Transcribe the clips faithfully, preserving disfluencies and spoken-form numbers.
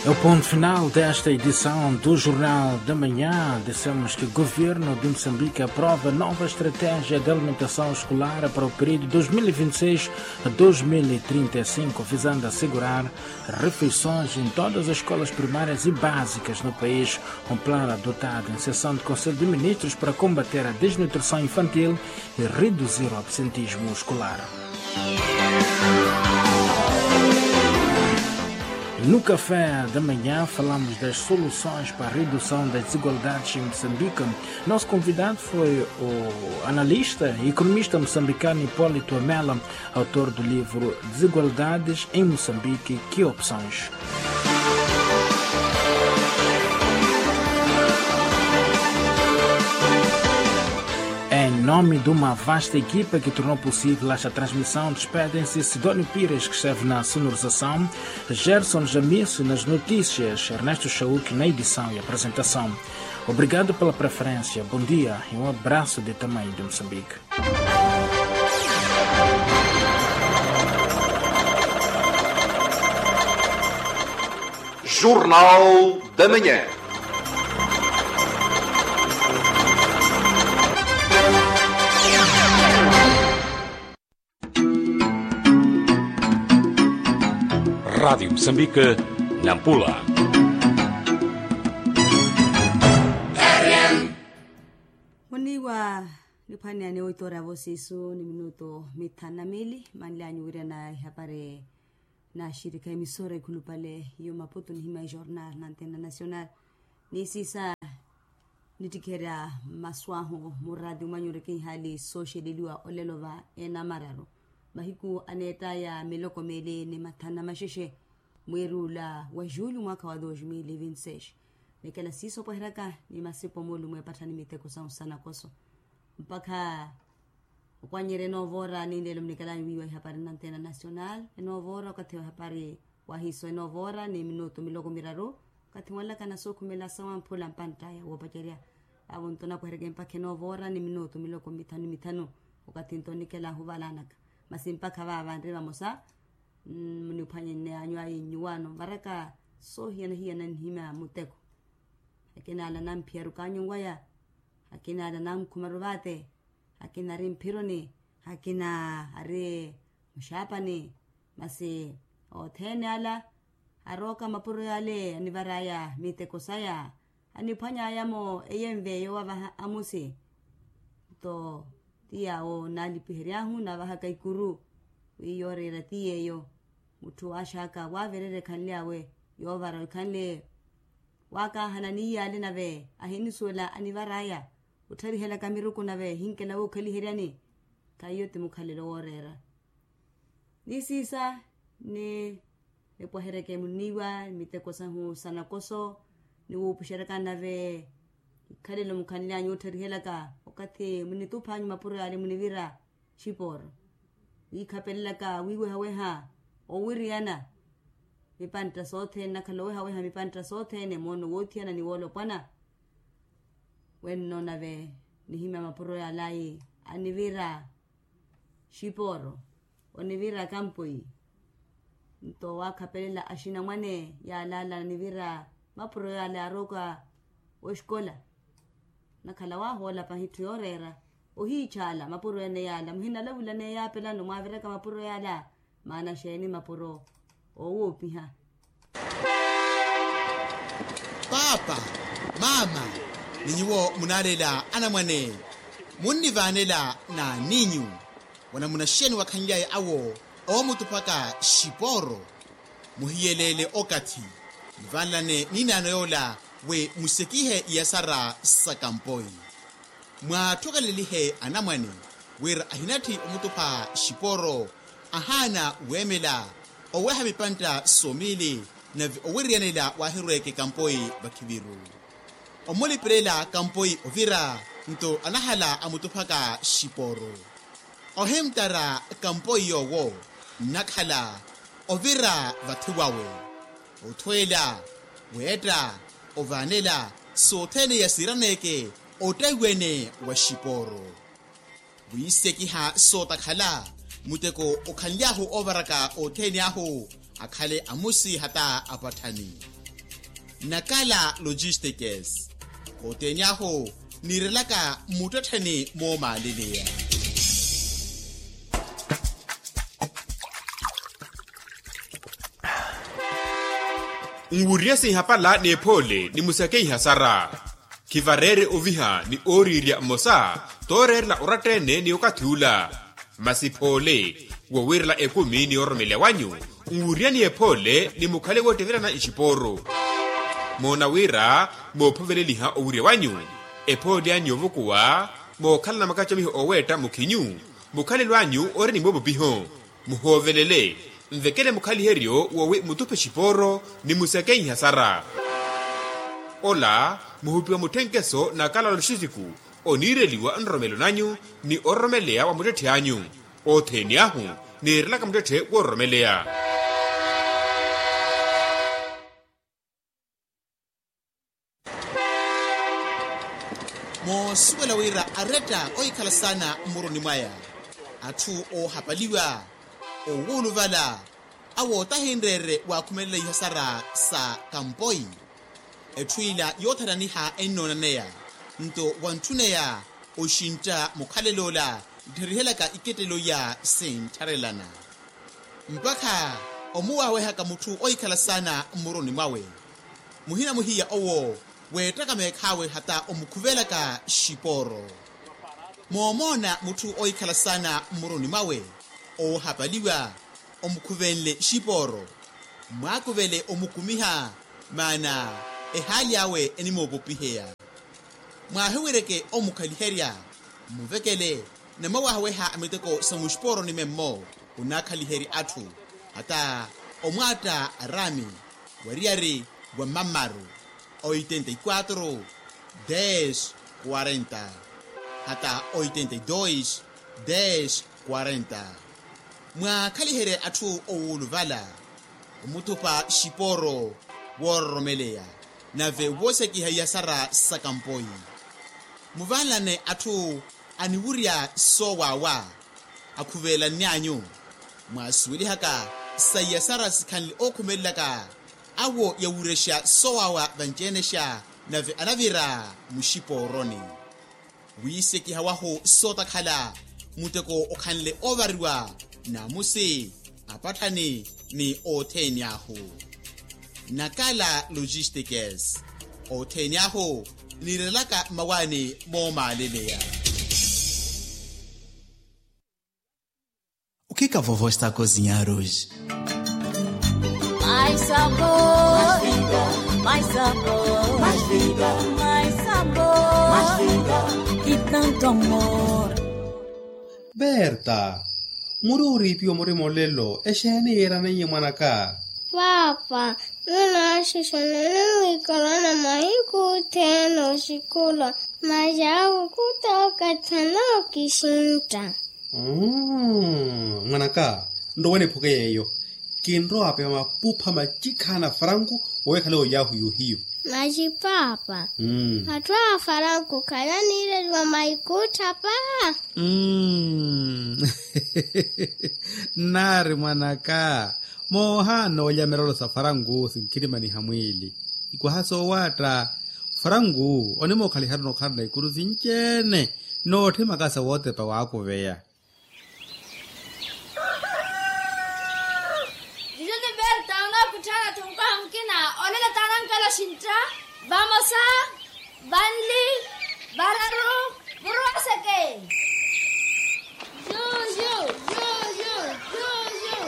É o ponto final desta edição do Jornal da Manhã. Dissemos que o Governo de Moçambique aprova nova estratégia de alimentação escolar para o período dois mil e vinte e seis a dois mil e trinta e cinco, visando assegurar refeições em todas as escolas primárias e básicas no país. Um plano adotado em sessão de Conselho de Ministros para combater a desnutrição infantil e reduzir o absentismo escolar. No Café da Manhã, falamos das soluções para a redução das desigualdades em Moçambique. Nosso convidado foi o analista e economista moçambicano Hipólito Amela, autor do livro Desigualdades em Moçambique, que opções? Em nome de uma vasta equipa que tornou possível esta transmissão, despedem-se Sidónio Pires, que esteve na sonorização, Gerson Jamice nas notícias, Ernesto Chauk na edição e apresentação. Obrigado pela preferência, bom dia e um abraço de tamanho de Moçambique. Jornal da Manhã. Rádio Moçambique, Nampula. Muniwa niphwaneya ni oitora ya vosisu ni minuto mithanu na mili, manlyanyu wirana ihapari na xirikha emisora ekhulupale yo maputo nihima ejornal na antena nacional. Ni sisa nittikherya masu ahu murati omanyureke ihali sooxeleliwa olelo va enamararu mahiku aneettaya miloko mili ni mathanu na maxexe, mweeri ula wa julho mwaakha wa dos mil e vinti seis. Nikela siiso opweheryaka ni masipo mulume epatthani miteko sahu sanakoso mpakha okwanyerya enoovora ni nlelo munikelanyu wiiwa ihapari na antena nacional. Enoovora okathi wa ihapari wahiiso enoovora ni minutu miloko miraru. Okathi wanlakana sookhumela sawamphula mpanttaya woopacerya. Vaavo nto onapweheryeke mpakha enoovora ni minutu miloko mithanu ni mithanu. Okathi nto onikelanhu valanaka masi mpakha vaava nri vamosa muniphwanye nne anyu ayi nnyuwaano nvaraka soohiyana-hiyana nihimya muteko. Akina ala namphiyaru kaanyunwaya, akina ala nankhumaru vaate, akina ari mphironi, akina ari muxaapani. Masi othene ala arooka mapuro yale anivaraya miteko saya, aniphwanyaya-mo eyenve yoowavaha amusi. Nto ti yaawo naalipiheryahu naavahaka ikuru wi yooreera ti yeeyo. Mutthu waaxaka waavererya ekhanly'awe yoovara ekhanle waakaahana ni iyaale nave ahinisuwela anivaraya. Ottharihelaka miruku nave hinkela wookhaliheryani. Khahiyo ti mukhalelo wooreera ni siisa ni nipwaheryeke muniiwa miteko sahu sanakoso ni wuupuxeryaka nave ikhalelo mukhanly'anyu ottharihelaka. Okathi munituphanyu mapuro yaale munivira xipooro wiikhapelelaka wiiwehaweha owiriyana mipantta sothene nakhala owehaweha mipantta sothene moono woothiyana ni woolopwana. Wenno nave nihimya mapuro yalayi anivira xipooro onivira kampoi. Nto waakhapelela axinamwane yalala anivira mapuro yala arooka wexikola. Nakhala waahoola pahi etthu yooreera ohiitxaala mapuro ene yaala muhinalavula neeyo apelano mwaaviraka mapuro yaala. Maana xeeni mapuro owoopiha? Paapa, maama, ni nyuwo munaaleela anamwane munnivaanela n'aninyu wanamuna xeeni wakhanly'aya awo oomutuphaka xipooro? Muhiyeleele okathi muvanlane ninaano yoola wi musekihe iyasara sa kampoi. Mwaathokelelihe anamwane wira ahinatthi omutupha xipooro ahaana weemela oweha mipantta somiili nave owiriyanela waahirweeke kampoi vakhiviru. Omulipelela kampoi ovira nto anahala amutuphaka xipooro. Ohimtara kampoi yoowo nnakhala ovira vathi wawe othweela weetta ovaanela sothene yasiiraneeke ottahiwene wa xipooro. Wiisekiha sootakhala muteko okhanly'ahu oovaraka othene ahu akhale amusi hata apatthani. Nakala logistikes. Othene ahu niirelaka mmuttettheni moomaaleleya. Nwuriye sinhapala n'ephoole ni musakeiha sara. Khivareere oviha ni ooriirya mmosa tooreerela oratta-ene ni okathi ula. Masi phoole wowiirela ekumi ni ororomeleya wanyu, nwuriyani ephoole ni mukhale woottevelana nxipooro. Moona wira moophoveleliha owirya wanyu, ephoole anyu yoovukuwa mookhalana makacomiho ooweetta mukhinyu, mukhalelo anyu ori ni moopopiho. Muhoovelele, nvekele mukhaliheryo woowi mutuphe xipooro ni musakeiha sara. Ola muhupiwa mutthenkeso na kalalo xiziku oniireliwa nroromelo nanyu ni ororomeleya wa muttetthe anyu. Othene ahu niirelaka muttetthe woororomeleya. Moosuwela wira aretta ohikhala saana mmuruni mwaya, atthu oohapaliwa, owuuluvala, awo tahinreere waakhumelela ihasara sa kampoi. Etthu ila yoothananiha ennoonaneya nto wanthuneya oxintta mukhalel'ola nttherihelyaka ikettelo iya sinttharelana. Mpakha omuwaawehaka mutthu ohikhala saana mmuruni mwawe, muhina muhiya owo weettaka meekh'awe hata omukhuvelaka xipooro. Moomoona mutthu ohikhala saana mmuruni mwawe oohapaliwa, omukhuvenle xipooro, mwaakuvele omukumiha, maana ehaali awe enimoopopiheya. Mwaahiwireke omukhaliherya, mmuvekele namwawaahaweha miteko sa muxipooroni memmo, onaakhaliherya atthu hata omwaatta araami wariyari wa mamaru, oitenta y quatro, des quarenta, hata oitenta y dos, des quarenta. Mwaakhaliherye atthu owuuluvala, omuthupa xipooro woororomeleya, nave woosekiha iyasara sa kampoi. Muvanlane atthu aniwurya soowaawa, akhuvelanny'anyu. Mwaasuwelihaka sa iyasara sikhanle ookhumelelaka, awo yawurexa soowaawa vanci-enexa, nave anavira muxipooroni. Wiisekiha wahu sootakhala, muteko okhanle oovariwa, naamusi, apatthani, ni othene ahu. Nakala logistikes. Othene ahu niirelaka mmawaani moomaaleleya. O que que a vovó está a cozinhar hoje? Mais sabor, mais sabor, mais vida, mais sabor, mais vida, e tanto amor. Berta, muri oriipiwa murima olelo exeeni yiiraneiye mwanaka? Paapa, nunaaxixana ninwiikalana mahiku othene oxikula, masi akukuta okathana okixintta. Mwanaka, nrowa niphuke yeeyo. Kinrowa apepa mapupha macikhana franku owekhale oyaahu yohiyo. Masi paapa, atthu a faranku khalaniireliwa maikuttha paa. Nnaari mwanaka, moohaana olya mirolo sa faranku sinkhirimaniha mwiili. Ikwaha soowaatta, faranku onimookhaliha-tho nookhalana ikuru sinci-ene nootthimaka sa wootepa waakuveya. Juju ni berta onookutthaana-tho nkoha mukina. Onene taanankela oxintta, vamosa, vanli, vararu, muruwaseke. Juju, juju, juju.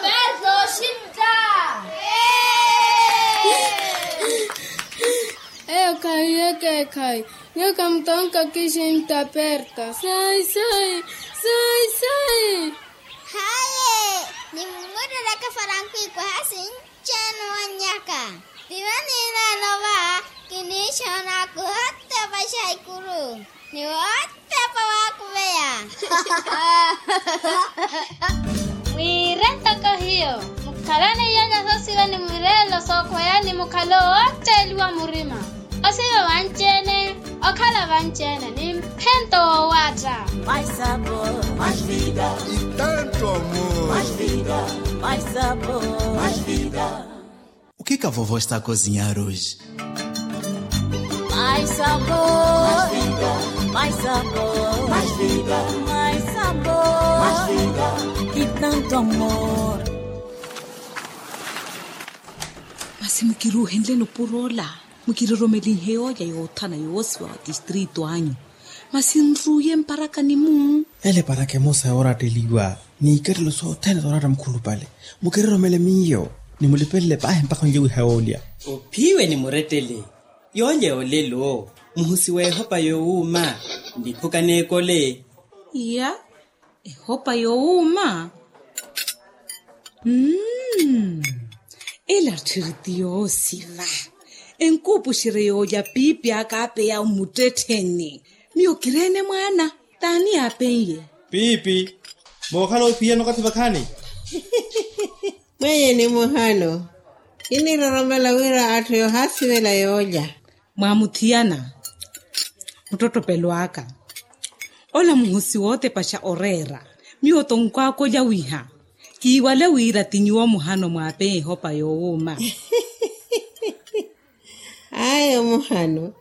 Berta oxintta. Eyo khahiye ekeekhayi. Nyuwo khamutonka kixintta perta. Sai sai, sai sai. Haye, nimumurelaka faranku ikwaha sinci-ene owannyaka. Vivani nano va, kiniixoona kuhotepaxa ikuru ni wotepa waakuveya. Mwiire ntoko hiyo, mukhalane iyanya sosiwe ni mwireelo sookhweya ni mukhale owootteeliwa murima. Osiva vanci-ene, okhala vanci-ene ni mphento woowaatta. Mais sabor, mais vida. E tanto amor. Mais vida, mais Okhika vovo esta cozinhar hoje. Mais sabor, mais sabor, mais vida, mais sabor, mais vida, e tanto amor. Masi mukiruuhenle nupuro ola, mukiroromelinhe yoolya yoothana yoosiwa wa tistrito anyu. Masi nruuye mparakani-mu. Ele paraka emosa yooratteliwa n'ikattelo sothene sooratta mukhulupale. Mukiroromele miyo, nimulipelele paahi mpakha onlye wiha yoolya. Ophiwe ni murettele. Yoolya yoolelo muhusi w'ehopa yoowuuma. Niphuka n'ekole. Iya. Ehopa yoowuuma. Mmm. Ela tthiri ti yoosiva. Enkuupuxerye yoolya piipi aka apeya omuttettheni. Miyo kireene mwaana. T'ani yaapen'ye? Piipi. Mookhala ophiyana okathi vakhaani. Mwenyeni muhano. Kiniroromela wira atthu yoohaasivela yoolya. Mwaamuthiyana. Muttottopelo aka. Ola muhusi wootepaxa oreera. Miyo tonkwaakolya wiha. Kiiwale wira ti nyuwo muhano mwaapeya ehopa yoowuuma. Ayo muhano.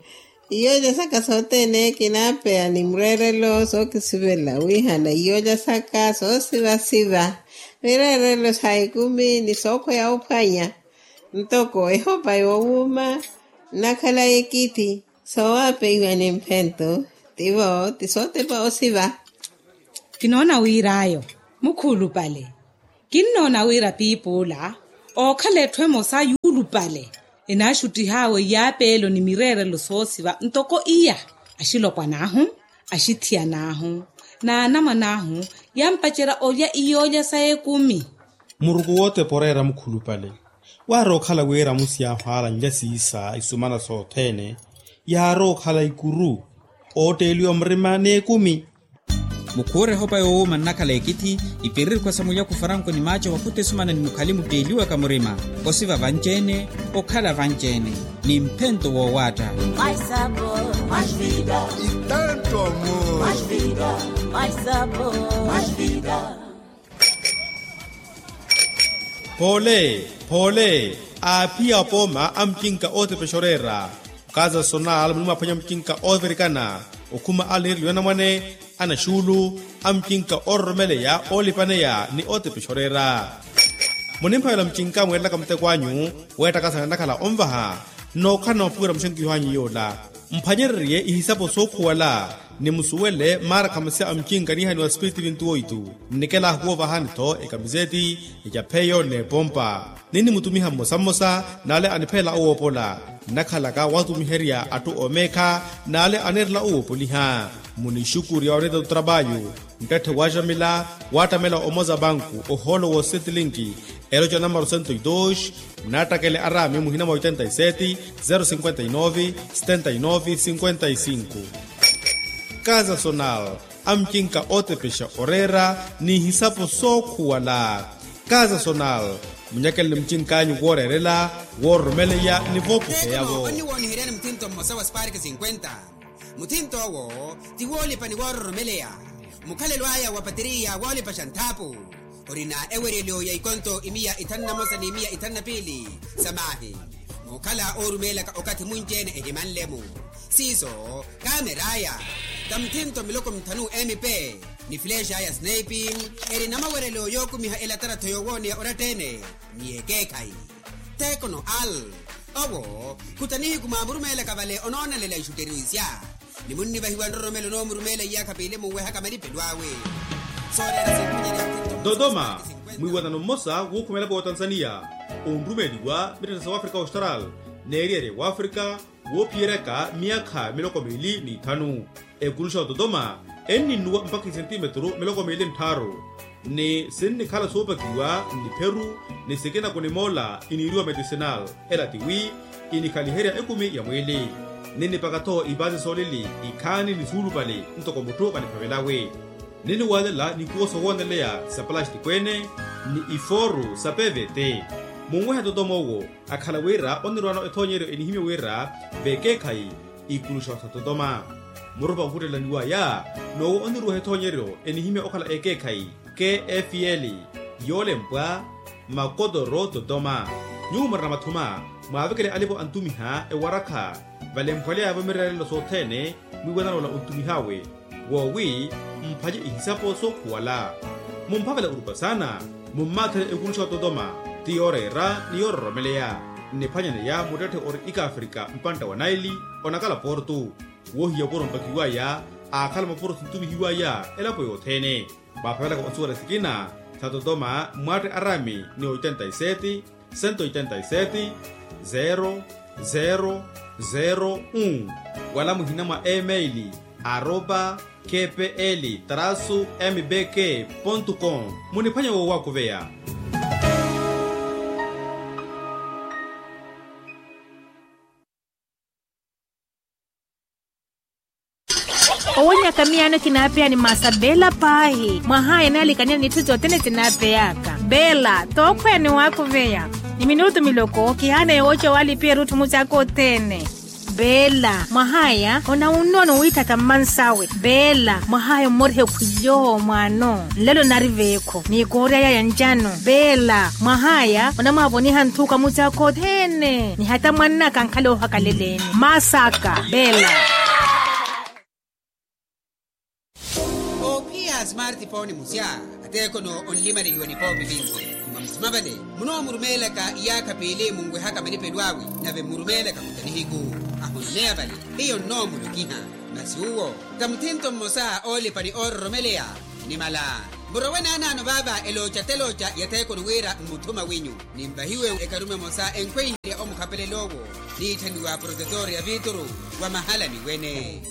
Iyoolya saka sothene kinaapeya ni mureerelo sookisivela wihana iyoolya saka soosivasiva. Mireerelo sa ekumi ni sookhweya ophwanya. Ntoko ehopa yoowuuma nnakhala ekithi. Soowapeiwa ni mphento. Tivo ti sootepa osiva. Kinoona wir'ayo mukhulupale. Kinnoona wira piipi ola ookhala etthu emosa yuulupale. Enaaxuttih'awe iyaapeelo ni mireerelo soosiva ntoko iya. Axilopwan'ahu, axithiyan'ahu, n'anamwan'ahu yampacerya olya iyoolya sa ekumi. Muruku wootepa oreera mukhulupale. Waarookhala wira amusi yaahu aala nlya siisa isumana sothene. Yaarookhala ikuru ootteeliwa murima n'ekumi. Mukhuure ehopa yoowuuma nnakhala ekithi. Ipiririkhwa sa mulyaku faranko ni maaco wakhuta esumana ni mukhali mutteeliwaka murima. Osiva vanci-ene, okhala vanci-ene, ni mphento woowaatta. Phoole, phoole. Aaphiya apooma a mucinka ootepexa oreera. Okaza sonal munimwaaphwanya mucinka oovirikana. Okhuma ale niireliwa anamwane, anaxuulu, a mucinka oororomeleya oolipaneya ni ootepexa oreera. Munimphavela mucinka mweerelaka muteko anyu weettakasana nnakhala onvaha. Nnookhala noopuwela muxenkiho anyu yoola. Mphwanyererye ihisapo sookhuwala. Ni musuwele maara khamasi a mucinka niihaniwa spiritu vintu oitu. Nnikela ahukuwa ovahani-tho ekamiseti, ecapheyo n'epompa. Ninnimutumiha mmosa mmosa n'ale aniphelela owoopola. Nnakhalaka watumiherya atthu oomeekha n'ale aneerela owoopoliha. Munixukurya oneeta otrapayu. Nttette waaxamila waattamela omoza banku ohoolo woosetlinki. Eroca namaro sento e dos. Mnaattakele araami muhina mwa oitenta e seti, zero cinquenta e nove, setenta e nove cinquenta e cinco. Kaza sonal. Amucinka ootepexa oreera n'ihisapo sookhuwala. Kaza sonal. Munyakeleni mucinkanyu wooreerela, woororomeleya ni voopuseya-vo. Onniwooniheryani muthinto mmosa wa spark cinquenta. Muthinto owo ti woolipa ni woororomeleya. Mukhalelo aya wa pateriya woolipaxa nthaapu. Orina eweryelo ya ikonto imiya ithanu na mosa ni imiya ithanu na piili. Samaahi. Muukhala oorumeelaka okathi munci-ene ehimanle-mu. Siiso kaameraya. Tamuthinto miloko mithanu m p ni flexa ya snaipi. Eri na mawerelo yookumiha elatarattho yoowooneya oratta-ene ni ekeekhayi. Tekono al. Owo khuta nihiku mwaamurumeelaka vale onoonelela ixutteriwisya. Ni munnivahiwa nroromelo noomurumeela iyaakha piili munwehaka malipelo awe. Sooreera sinkhonyerya. Dodoma. Mwiiwanano mmosa wuukhumela pootansaniya onrumeeliwa mittetta sa wafrika austral n'eriyari ya wafrika. Woophiyeryaka myaakha miloko miili n'ithanu. Ekuluxa wa dodoma enninnuwa mpakha isentimetru miloko miili n'tthaaru. Ni sinnikhala soopakiwa n'ipheru ni sikina kunimoola iniiriwa medicinal. Ela tiwi inikhaliherya ekumi ya mwiili. Ninnipaka-tho ipaasi soolili ikhaani ni suulupali ntoko mutthu kaniphavelawe. Ninniwaalela nikuwo sowooneleya sa palastiko-ene ni ifooru sa pvt. Munwehe dodoma owo akhala wira onnirwaano ethoonyeryo enihimya wira vekeekhayi ikuluxa wa dodoma. Murupa onkhuttelaniwaya n'owo onniruweha ethoonyeryo enihimya okhala ekeekhayi. Kfl yoolempwa Makotoro totoma. Nyuwo murina mathuma, mwaavekele alipo antumiha ewarakha, valemphwaleya vamirerelo sothene, mwiiwanana ola ontumihawe, woowi mphanye ihisapo sookhuwala. Mumphavela orupasana, mummaathenle ekuruxa ototoma, ti yooreera ni yoororomeleya. Nniphwanyaneya muttetthe ori ikafrika mpantta wa naili, onakala portu. Woohiya opuro mpakiwaya, aakhala mapuro sintumihiwaya elapo yothene. Mwaaphavelaka onsuwela sikina, sa totoma mwatte arami ni oitenta y sete, sento oitenta y sete, zero zero zero un, wala muhina mwa emaili, aropa kpl trasu mbk pontu com. Muniphwanye woowakuveya. Owonyaka miyaano kinaapeya ni masa bela paahi. Mwahaya naalikaniya n'itthu sothene sinaapeyaka bela. Tookhweya ni waakuveya ni minutu miloko kihaana yooca waalipiya erutthu mucaaka othene. Bela mwahaya onawunnono wiitthaka mmansawe. Bela mwahaya ommoriha ekhwily'owo mwaano nlelo nari veekho n'ikoori aya ya ncano. Bela mwahaya onamwaavoniha nthuuka mucaaka othene ni hata mwann'aka ankhala oohakaleleni masaka bela. Oophiya smartphone musya ateekono onlimaleliwa nipoopi vinci. Mwamusima vale munoomurumeelaka iyaakha piili munwehaka malipelo awe nave mmurumeelaka kuta nihiku. Ahononeya vale hiyo nnoomulokiha. Masi uwo ta muthinto mmosa oolipa ni oororomeleya. Nimala murowe naanaano vaava elooca telooca yatheekoni wira mmuthuma winyu. Nimpahiwe ekarume emosa enkhweiherya omukhapelel'owo niitthaniwa protetor ya vituru wa mahalani wene.